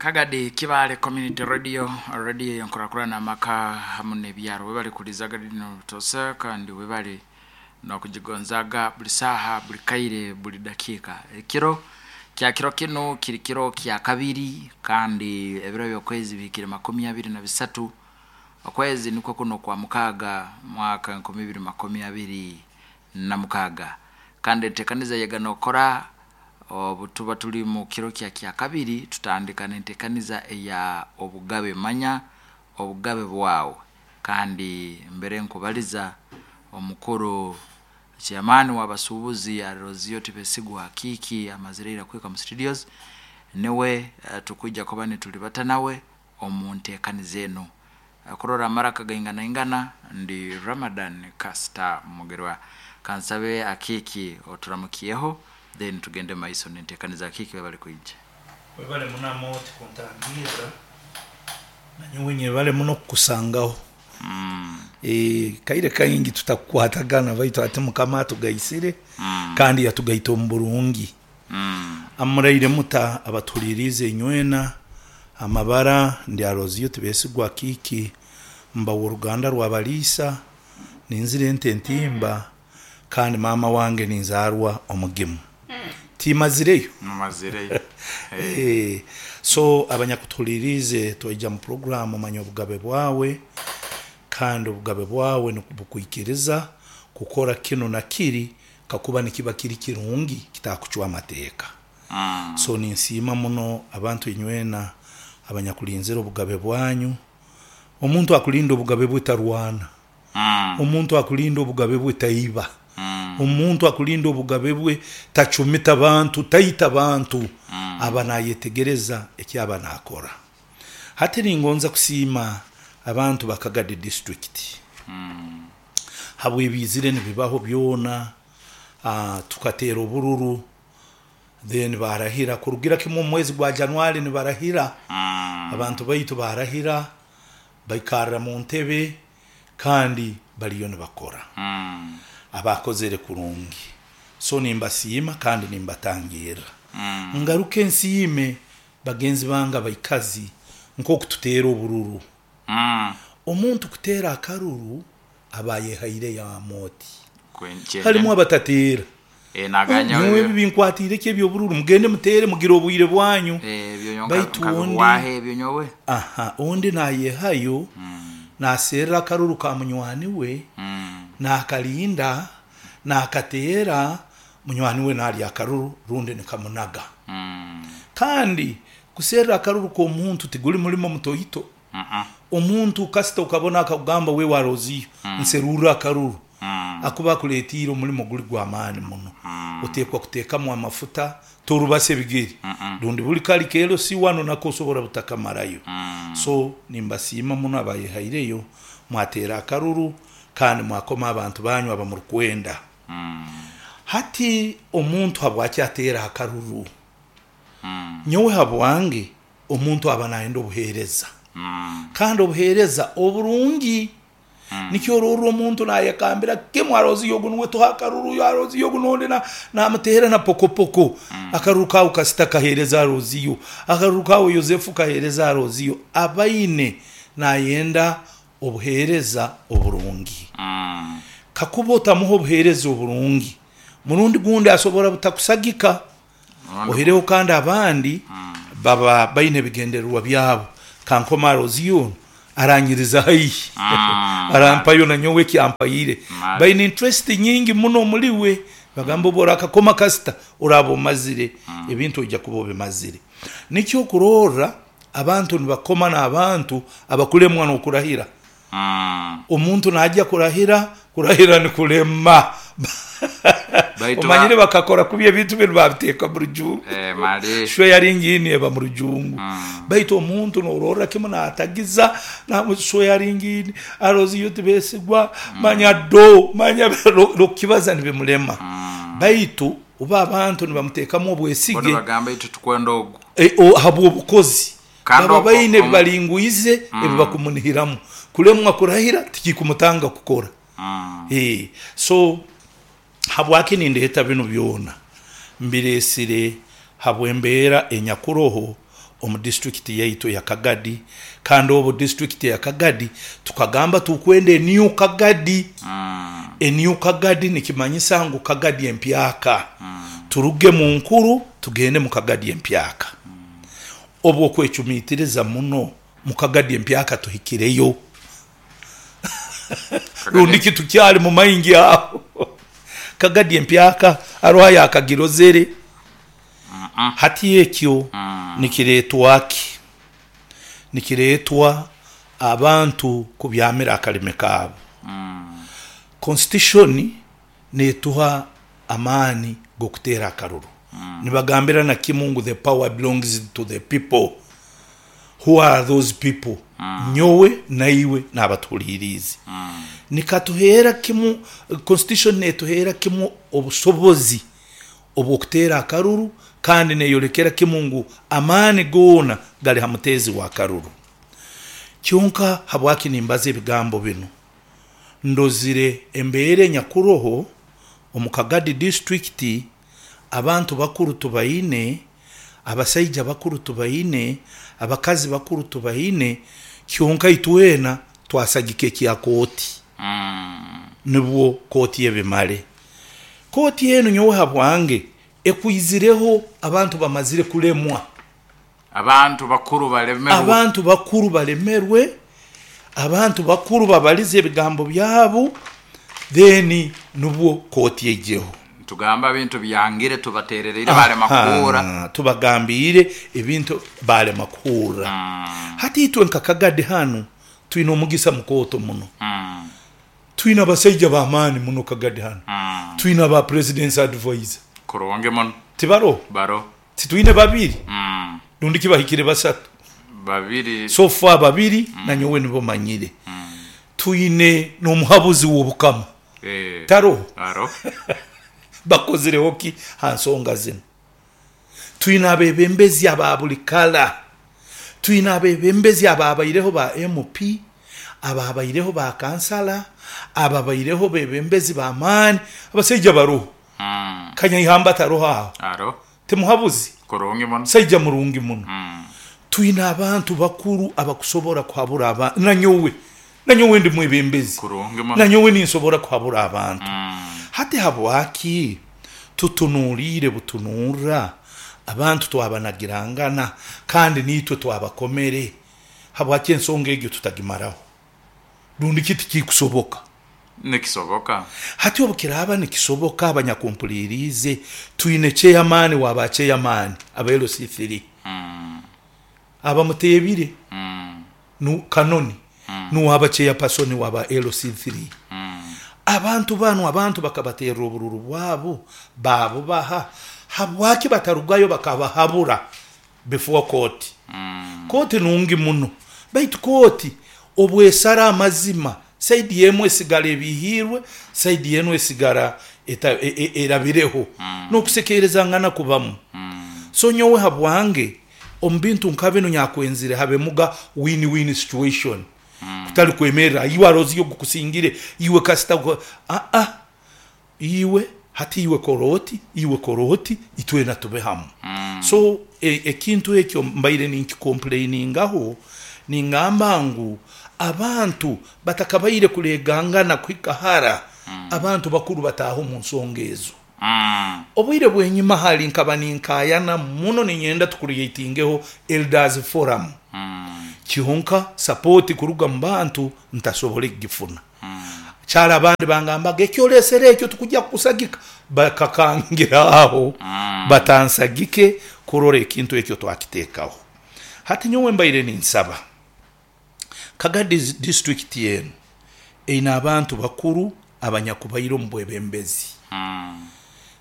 Kagadi Kibale Community Radio, radio yenkurakurana amaka hamu n'ebyaro. Webale kulizaga lino butosa kandi webale n'okugigonzaga buli saaha, buli kaire, buli dakiika. Ekiro kya kiro kinu kiri kiro kya kabiri kandi ebiro by'okwezi bihikire 23, okwezi nikwo kuno kwa mukaaga, mwaka 2026. Kandi enteekaniza yega n'okora obu tuba tuli mu kiro kya kyakabiri, tutandika n'enteekaniza eya obugabe. Manya obugabe bwawe. Kandi mbere nkubaliza omukuru chairman w'abasuubuzi Arozio Tibesigwa Akiiki amazire ira kuhika mu studios, niwe tukwija kuba nitulibata nawe omu nteekaniza enu. Kurora amaraka gainganaingana, ndi Ramadan Kasita Mugerwa. Kansabe Akiiki oturamukyeho, then tugende maiso n'enteekaniza. Akiiki, webale kwija. Webale muno Amooti kuntangirra, nanyowe nyebale muno kukusangaho. Kaire kaingi tutakukwatagana baitu hati Mukama atugaisire kandi yatugaita omu burungi. Amuraire muta abatuhuliriize inywena, amabara ndi Aloziyo Tibesigwa Akiiki, mba w'oruganda rwa Baliisa, ninzira ente entimba kandi maama wange ninzaarwa Omugimu. Timazireyo. Mumazireyo. So abanyakutuhuliriize twaija mu puroguraamu Manya Obugabe Bwawe, kandi obugabe bwawe nibukwikiriza kukora kinu na kiri kakuba nikiba kiri kirungi kitakucwa amateeka. So ninsiima muno abantu inywena abanyakulinzire obugabe bwanyu. Omuntu akulinda obugabe bwe tarwana. Omuntu akulinda obugabe bwe taiba. Omuntu akulinda obugabe bwe tacumita bantu, taita bantu. Aba nayetegereza eki aba nakora. Hati ningonza kusiima abantu ba Kagadi district habw'ebiizire nibibaho byona, tukateera obururu then baarahira kurugira kimwe omu mwezi gwa January nibarahira, abantu baitu baarahira baikarra mu ntebe kandi bariyo nibakora. Abaakozere kurungi. So nimbasiima kandi nimbatangirra. Ngaruke nsiime Bagenzi bange abaikazi, nk'oku tuteera obururu. Omuntu kuteera akaruru aba ayehaireyo oti. Harimu abatateera. Nyowe ebi binkwatiire ki eby'obururu? Mugende muteere mugire obwire bwanyu. Baitu ondi, aha, ondi naayehayo naaserra akaruru ka munywani we, naakarinda, naakateera, Munywani we naalya akaruru rundi nikamunaga. Kandi kuserra akaruru k'omuntu tiguli mulimo mutoito. Omuntu kasita okabona akakugamba wewe Aroziyo nserurra akaruru, akuba akuletiire omulimo guli gw'amaani muno. Otekwa kutekamu amafuta, torubasa ebigere rundi buli kali KLC wanu nako osobora butakamarayo. So nimbasiima muno abayehaireyo mwateera akaruru kandi mwakoma abantu banyu abamurukwenda. Hati omuntu habwaki ateera akaruru? Nyowe habwange omuntu aba nayenda obuheereza kandi obuheereza oburungi. Nikyo ororra omuntu nayekambira kimu aroziyo ogu nuwe tuhe akaruru, aroziyo ogu nondi namuteera na pokopoko. Akaruru kaawe kasita kaheereza aroziyo, akaruru kaawe Yosefu kaheereza aroziyo. Abaine nayenda obuheereza oburungi. Kakuba otamuha obuheereza oburungi, murundi gundi asobora butakusagika. Oihireho kandi abandi baba baine ebigendererwa byabo. Kankome Aroziyo onu aranyiriza haihi, arampayo nanyowe eki ampaire. Baine interest nyingi muno omuri we. Nibagamba obu orakakoma kasita oraaba omazire, ebintu oija kuba obimazire. Nikyo okurorra Abantu nibakoma n'abantu abakulemwa n'okurahira. Omuntu naija kurahira, kurahira nikulema. Baitu Omanyire bakakora kubi ebintu binu babiteeka mu rujungu. Eh, mali. Shwe yaringini eba mu rujungu. Baitu omuntu nororra kimu natagiza, shwe yaringini, aroziyo tibesigwa, manya do, manya nokukibaza nibimulema. Baitu obu abantu nibamuteekamu Bo obwesige, nibagamba itwe tukwenda ogu. Habw'obukozi. Kandi Baba baine ebi omu baringwize ebi bakumunihiramu. Kulemwa kurahira tikikumutanga kukora. So habwaki nindeeta binu byona? Mbireesire habw'embeera enyakuroho. omu disitulikiti yaitu eya Kagadi kandi obu disitulikiti eya Kagadi tukagamba tukwenda e New Kagadi. E New Kagadi nikimanyisa ngu Kagadi empyaka. Turuge mu nkuru tugende mu Kagadi empyaka. Obu okwecumitiriza muno mu Kagadi empyaka tuhikireyo rundi ki tukyali mu maingi aho. Kagadi empyaka haroho ayakagirozere? Hati ekyo nikireetwa ki? Nikireetwa abantu kubyamira akalimi kaabo. Constitution netuha amaani g'okuteera akaruru. Nibagambira na kimu ngu the power belongs to the people. Who are those people? Nyowe naiwe n'abatuhuriiriize. Nikatuheera kimu, constitution netuheera kimu obusobozi obw'okuteera akaruru kandi neyolekera kimu ngu amaani goona gali ha muteezi w'akaruru. Kyonka habwaki nimbaza ebigambo binu? Ndozire embeera enyakuroho omu Kagadi disiturikiti, abantu bakuru tubaine, abasaija bakuru tubaine, abakazi bakuru tubaine, kyonka itwena twasagika ekya kooti. Nibwo kooti ebimale. Kooti enu nyowe habwange ekwizireho abantu bamazire kulemwa. Abantu bakuru balemerwe. Abantu bakuru balemerwe, abantu bakuru babalize ebigambo byabo, then nubwo kooti eijeho. Tugamba ebintu byangire tubaterereire balema kuhurra. Aha, tubagambiire ebintu balema kuhurra. Hati itwe nka Kagadi hanu twine omugisa mukooto muno. Twine abasaija b'amaani muno Kagadi hanu. Twine aba President's Advisor. Kurungi muno. Tibaroho? Baroho. Titwine babiri? Rundi ki bahikire basatu? Babiri. So far babiri nanyowe nibo manyire. Twine n'omuhabuzi w'Obukama. Taroho? Aroho. Bakozireho ki ha nsonga zinu? Twine abebembezi aba buli kala. Twine abebembezi ababaireho ba MP, ababaireho ba kansala, ababaireho bebembezi b'amaani. Abasaija baroho. Kanyaihamba taroho aho? Aroho. Timuhabuzi? Kurungi muno. Saija murungi muno. Twine abantu bakuru abakusobora kuhabura abantu. Nanyowe, nanyowe ndi mwebembezi. Kurungi muno. Nanyowe ninsobora kuhabura abantu. Hati habwaki tutunuliire butunurra abantu twabanagirangana kandi niitwe twabakomere? Habwaki ensonga egyo tutagimaraho? Rundi ki tikikusoboka? Nikisoboka. Hati obu kiraaba nikisoboka, abanyakumpuliriize, twine ceyamaani wa ba ceyamaani aba LC3 abamuteebire nu Kanoni nuwe aba ceyapasoni wa ba LC3. Abantu banu abantu bakabaterra obururu bwabo baabubaha, habwaki batarugayo bakabahabura before kooti? Kooti nungi muno, baitu kooti obwesara amazima, saidi emu esigara ebihiirwe, saidi enu esigara erabireho, n'okusekeerezangana kubamu. So nyowe habwange omu bintu nka binu nyakwenzire habemuga win-win situation, kutali kwemerra iwe aroziyo ogukusingire, iwe kasita aa, iwe hati iwe kora oti, iwe kora oti, itwena tube hamu. So ekintu ekyo mbaire ninkikomplainingaho, ningamba ngu abantu batakabaire kulegangana kuhika hara, abantu bakuru bataaha omu nsonga ezo. Obwire bw'enyima hali nkaba ninkayana muno ninyenda tucreatingeho Elders Forum, kyonka sapoti kuruga mu bantu ntasobole kugifuna. Kyali abandi bangambaga eki olesere ekyo tukujja kukusagika, bakakangira aho batansagike kurora ekintu ekyo twakiteekaho. Hati nyowe mbaire ninsaba Kagadi disiturikiti enu eine abantu bakuru abanyakubaire omu bwebembezi.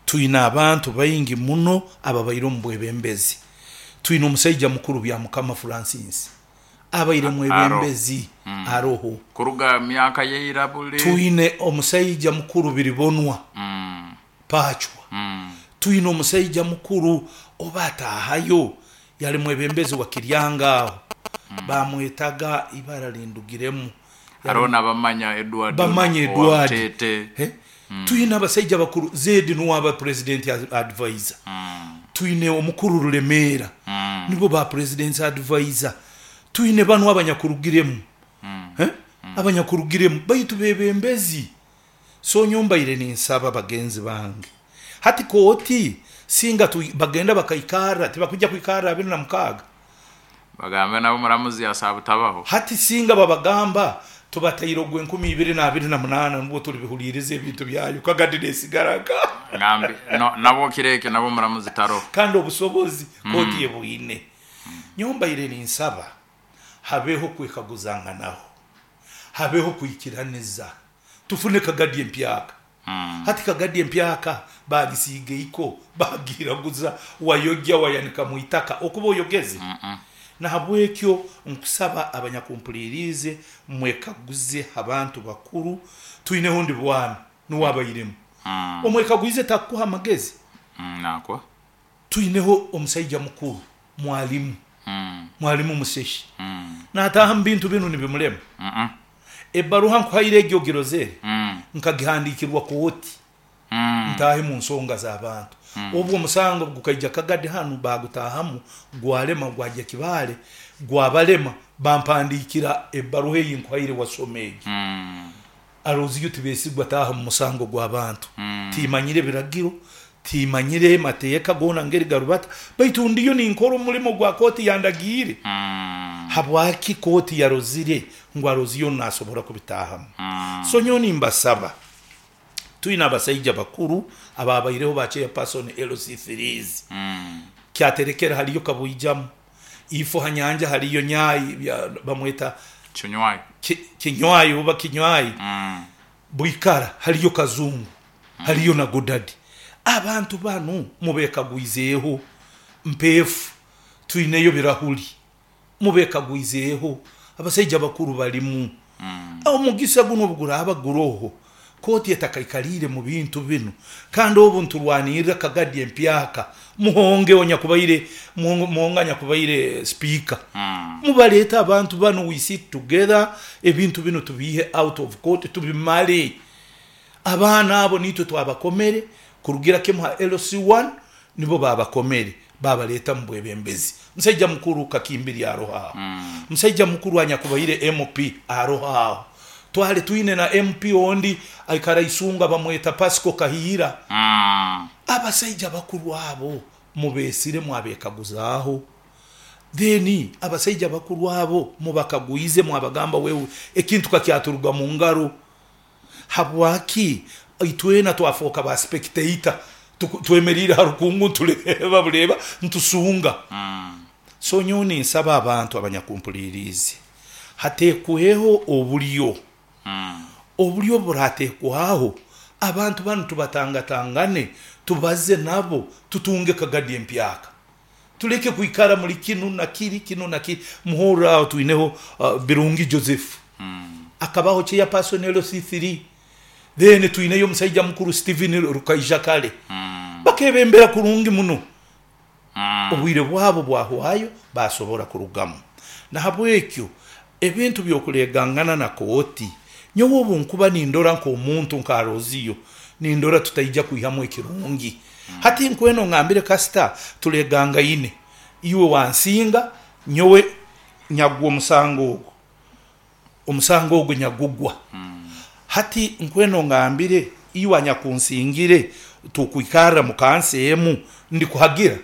Twine abantu baingi muno ababaire omu bwebembezi. Twine omusaija mukuru Byamukama Francis abaire mwebembezi aroho. Kuruga myaka yaira buli. Twine omusaija mukuru Biribonwa Pachwa. Twine omusaija mukuru oba ataahayo yali mwebembezi wa Kiryanga aho, bamwetaga ibara lindugiremu. Haroho n'abamanya Edward Bamanya owa Edward. Butete. Twine abasaija bakuru, Zedi nuwe aba president advisor. Twine omukuru Rulemeera. Nibo ba president's advisor. Twine banu abanyakurugiremu, eh, abanyakurugiremu baitu bebembezi. So nyowe mbaire ninsaba bagenzi bange, hati kooti singa bagenda bakaikarra, tibakwija kwikarra 26. Bagambe nabo omuramuzi asaaba butabaho. Hati singa babagamba tubataire ogw'enkumi ibiri n'abiri na munaana nubwo tulibihuliiriza ebintu byayo, kagadi nesigara nka. Ngambi no, nabwo kiro ekyo nabwo omuramuzi taroho. Kandi obusobozi kooti ebwine. Nyowe mbaire ninsaba habeho kwekaguzanganaho, habeho kwikiraniza, tufune kagadi empyaka. Hati kagadi empyaka bagisiiga eiko, bagiiraguza, wayogya wayanika mu itaka, okuba oyogeze. Nahabwekyo nkusaba abanyakumpuliriize mwekaguze ha bantu bakuru, twineho ndi bwana nuwe abairemu. Omwekagwize takukuha amagezi? Nakuha. Twineho omusaija mukuru mwalimu, mwalimu Museshi, nataaha mu bintu binu nibimulema. Ebbaruha nkuhaire egi ogirozere, nkagihandiikirwa kooti ntaahe mu nsonga z'abantu. Obu omusango gukaija Kagadi hanu baagutaahamu gwalema gwagya Kibaale gwabalema bampandiikira ebbaruha ei nkuhaire wasoma egi. Aroziyo Tibesigwa taaha mu musango gw'abantu. Timanyire biragiro, timanyire mateeka goona ngeri garubata, baitu ndiyo ninkora omulimo gwa kooti yandagiire. Habwaki kooti yarozire ngu Aroziyo onu nasobora kubitaahamu? So nyowe nimbasaba, twine abasaija bakuru abaabaireho ba chairperson LC3s, Kyaterekere haliyo Kabwijamu, ifo ha nyanja haliyo Nyai, bamweta Kinywayi. Kinywayi oba Kinywayi. Bwikara haliyo Kazungu, haliyo na Godadi. Abantu banu mubekagwizeeho. Mpeefu twineyo Birahuli, mubekagwizeeho. Abasaija bakuru balimu. Omugisa gunu obu guraaba guroho, kooti etakaikaliire mu bintu binu, kandi obu niturwanirra Kagadi empyaka, Muhonge onyakubaire Muhonge anyakubaire sipiika, mubaleete abantu banu we sit together, ebintu binu tubiihe out of court tubimale. Abaana abo niitwe twabakomere kurugira kimu ha LC one nibo baabakomere baabaleeta mu bwebembezi. Musaija mukuru Kakimbiri aroho aho, musaija mukuru anyakubaire MP aroho aho, twali twine na MP ondi aikara Isunga bamweta Pascal Kahiira. Abasaija bakuru abo mubeesire mwabekaguzaaho? Then abasaija bakuru abo mubakagwize mwabagamba wewe ekintu kakyaturuga mu ngaro? Habwaki itwena twafooka ba spectator twemeriire ha rukungu nitureeba bureeba nitusunga? So nyowe ninsaba abantu abanyakumpuliriize hateekweho oburyo, oburyo oburateekwaho abantu banu tubatangatangane tubaze nabo tutunge kagadi empyaka. Tuleke kwikara muli kinu na kiri, kinu na kiri. Muhurre aho twineho Birungi Joseph akabaho chairperson LC3, then twineyo omusaija mukuru Stephen Rukaija Kale. Bakebembera kurungi muno. Obwire bwabo bwahwayo basobora kurugamu. Nahabwekyo ebintu by'okulegangana na kooti, nyowe obu nkuba nindora nk'omuntu nka Roziyo, nindora tutaija kwihamu ekirungi. Hati nkwena ongambire kasita tulegangaine, iwe wansinga, nyowe nyagwa omusango ogu, omusango ogu nyagugwa. Hati nkwena ongambire iwe anyakunsingire tukwikarra mu kansa emu, ndikuhagira?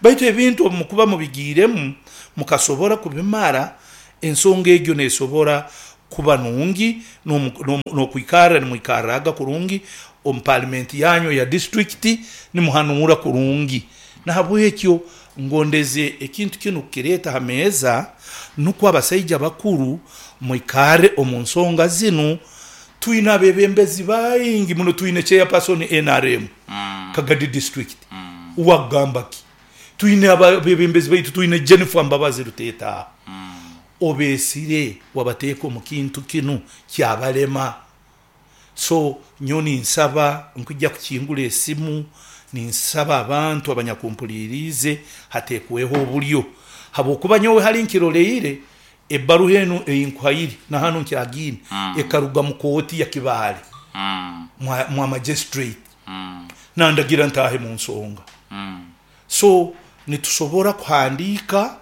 Baitu ebintu obu mukuba mubigiiremu mukasobora kubimara, ensonga egyo nesobora kuba nungi n'okwikarra nimwikarraga kurungi omu palimenti yanyu eya disiturikiti nimuhanuura kurungi. Nahabwekyo ngondeze ekintu kinu kukireeta ha meeza nukwo abasaija bakuru mwikarre omu nsonga zinu. Twine abebembezi baingi muno, twine chairperson nrm Kagadi district uwe akugamba ki? Twine abebembezi baitu, twine Jennifer Mbabazi Ruteeta aho. Obeesire wabateeka omu kintu kinu kyabalema. So nyowe ninsaba nkwija kukingura esimu ninsaba abantu abanyakumpuliriize hateekweho obulyo habwokuba nyowe hali nkiroleire ebbaruha enu ei nkuhaire na hanu nkyagiine ekaruga mu kooti ya Kibaale mwa magistrate nandagira ntaahe mu nsonga. So. Nitusobora kuhandiika,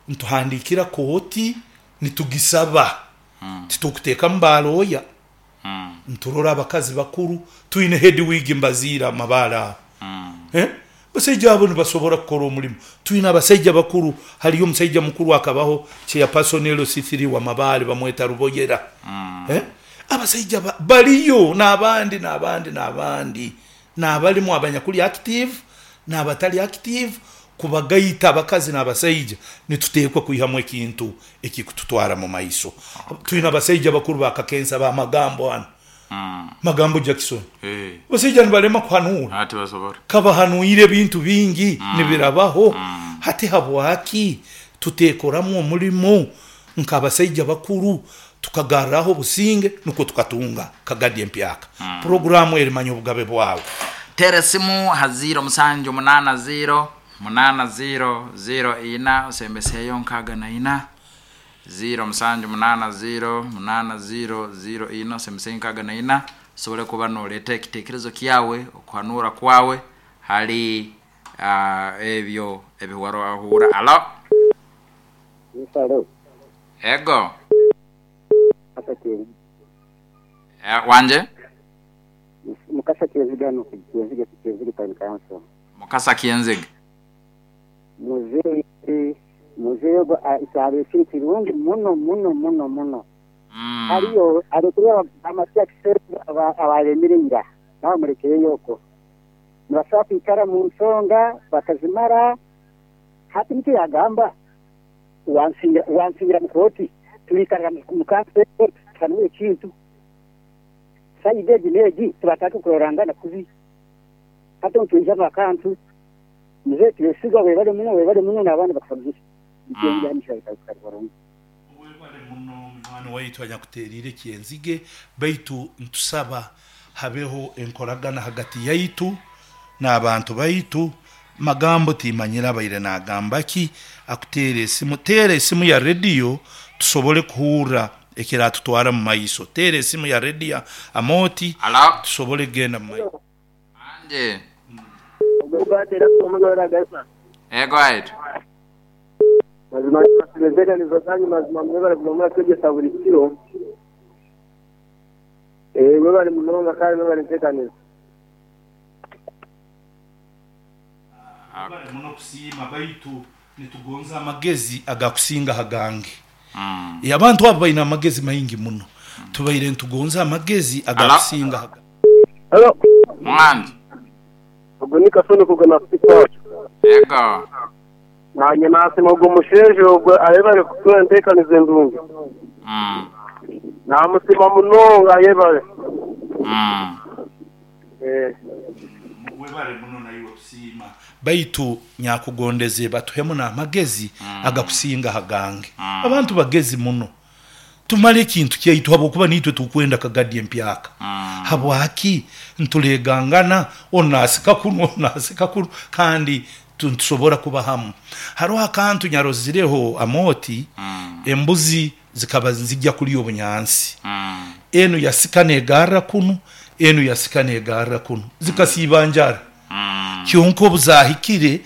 nituhandiikira kooti, nitugisaba, titukuteekamu balooya. Nturora abakazi bakuru, twine Hedwig Mbaziira Mabaale aho. Basaija abo nibasobora kukora omulimo. Twine abasaija bakuru, haliyo omusaija mukuru akabaho chairperson LC3 wa Mabaale bamweta Ruboyera. Abasaija baliyo n'abandi n'abandi n'abandi, n'abalimu abanyakuli active n'abatali active, kubagaita abakazi n'abasaija nituteekwa kwihamu ekintu ekikututwara mu maiso. Twine abasaija bakuru ba Kakensa ba Magambo hanu, Magambo Jackson. Abasaija nibalema kuhanuura, kabahanuire ebintu bingi nibirabaho. Hati habwaki tuteekoramu omulimo nk'abasaija bakuru tukagarraho obusinge nukwo tukatunga Kagadi empyaka? Puroguraamu eri Manya Obugabe Bwawe. Teera esimu ha 0 7 8 0 8 0 0 4 osembeseeyo 64, 0 7 8 0 8 0 0 4 osembeseeyo 64, osobole kuba noleeta ekiteekerezo kyawe, okuhanura kwawe hali ebyo ebiwarahura. Alo? Yes, alo. Ego. Wanje? Mukasa Kyenzige hano ku Kyenzige, Kyenzige Town Council. Mukasa Kyenzige. Muzeeyi, muzeeyi ogwo ekyaro ekiri kirungi muno muno muno muno. Hariyo arekureba amasya abaremire ira bamurekereyo okwo. Nibasobola kwikara mu nsonga bakazimara. Hati nikyo yagamba, wansingira mu kooti, tuliikarira mu kanso tuhanure ekintu. Sayidi egi n'egi tibatandika kurorangana kubi. Hati nitwijamu akantu, muzeeyi twesiga webale muno, webale muno n'abandi bakusagiire. Webale muno munywani waitu anyakuteriire Kyenzige, baitu ntusaba habeho enkoragana hagati yaitu n'abantu baitu. Magambo timanyire abaire nagamba ki, akuteera esimu. Teera esimu ya rediyo tusobole kuhurra ekiratutwara mu maiso. Teera esimu ya rediyo Amooti Alo? tusobole kugenda mu maiso. Anje. Ego aitu. Mazima enteekaniza zanyu, mazima mwebale kuguma muratwegyesa buri kiro. Mwebale munonga kandi mwebale enteekaniza. Mwebale muno kusiima, baitu nitugonza amagezi agakusinga hagange. Abantu abo baine amagezi maingi muno, tubaire nitugonza amagezi agakusinga hagange. Halo. Mwanje. Ogwo ni Kasoni kugana City. Ego. Nanye nasima ogwo musheejo ogwo ayebare kutuha enteekaniza endungi. Namusima munonga ayebare. Webale muno naiwe kusiima, baitu nyakugondeze batuhemu n'amagezi agakusinga hagange. Abantu bagezi muno, tumale ekintu kyaitu habwokuba niitwe tukwenda Kagadi empyaka. Habwaki ntulegangana, onu nasika kunu, onu nasika kunu, kandi nitusobora kuba hamu? Haroho akantu nyarozireho Amooti, embuzi zikaba nizijya kulya obunyansi, enu yasika negarra kunu, enu yasika negarra kunu, zikasiiba njara. Kyonka obu zahikire,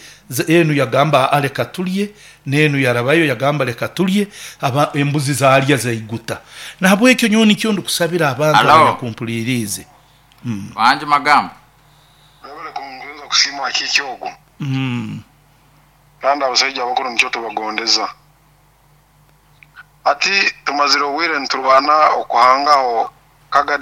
enu yagamba leka tulye, n'enu yarabayo yagamba leka tulye, aba embuzi zalya zaiguta. Nahabwekyo nyowe nikyo ndikusabira abantu Alo? abanyakumpuliriize. Wanje Magambo. Webale kungonza kusiima akiiki ogwo. Kandi abasaija abakuru nikyo tubagondeza. Ati tumazire obwire niturwana okuhangaho Kagadi.